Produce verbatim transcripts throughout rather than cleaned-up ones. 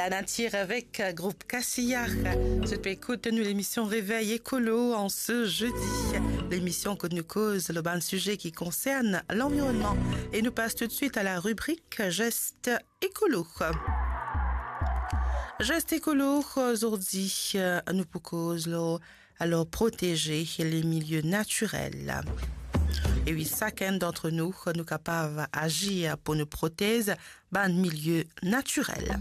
Natir avek group Kassiya. Zot pe ekout nou lemision Réveil Écolo an se zedi. Lemision kot nou koz lor bann size ki konsern lanvironnman. E nou pas toutswit a la ribrik Gest Écolo. Gest Écolo, zordi, nou pou koz lor, alor, proteze le milie natirel. E wi, sakenn dantre nou, nou kapav azir pou nou protez bann milie natirel.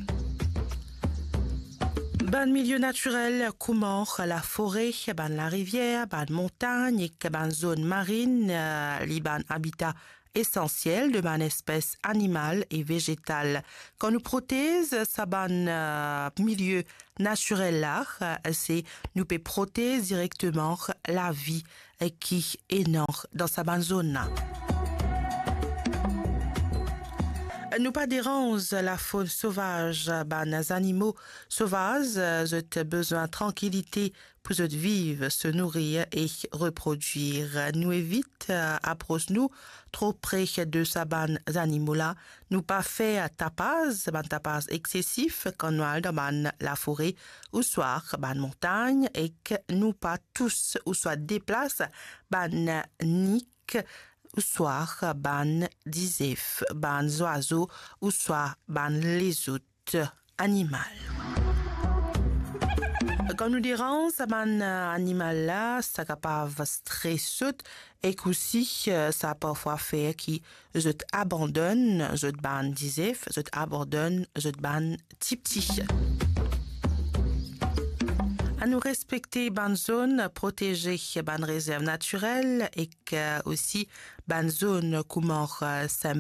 Bann milie natirel kouma lafore, bann larivier, bann montagn ek bann zone marine, eh, li bann abita esansiel de bann espes animal e vezetal. Kan nou protez sa bann, eh, milie natirel la, eh, se nou pe protez direkteman lavi, eh, ki ena dan sa bann zone la. Nou pa deranz lafaune sauvage, bann zanimo sovaz, eh, zot bizin trankilite pou zot viv, se nourir e reprodwir. Nou evit, eh, apros nou tro pre de sa bann zanimo la. Nou pa fer tapaz, bann tapaz eksesif kan nou al dan bann lafore ouswa bann montagn, ek nou pa tous ouswa deplas bann nik ouswa bann dizef, bann zwazo ouswa bann lezot animal. Kan nou deranz sa bann, eh, animal la, sa kapav stres zot, ek osi, eh, sa parfwa fer ki zot abandonn zot bann dizef, zot abandonn zot bann tipti. Anou respekte bann zone proteze, bann rezerv natirel, ek, eh, osi bann zone kouma, eh, Saint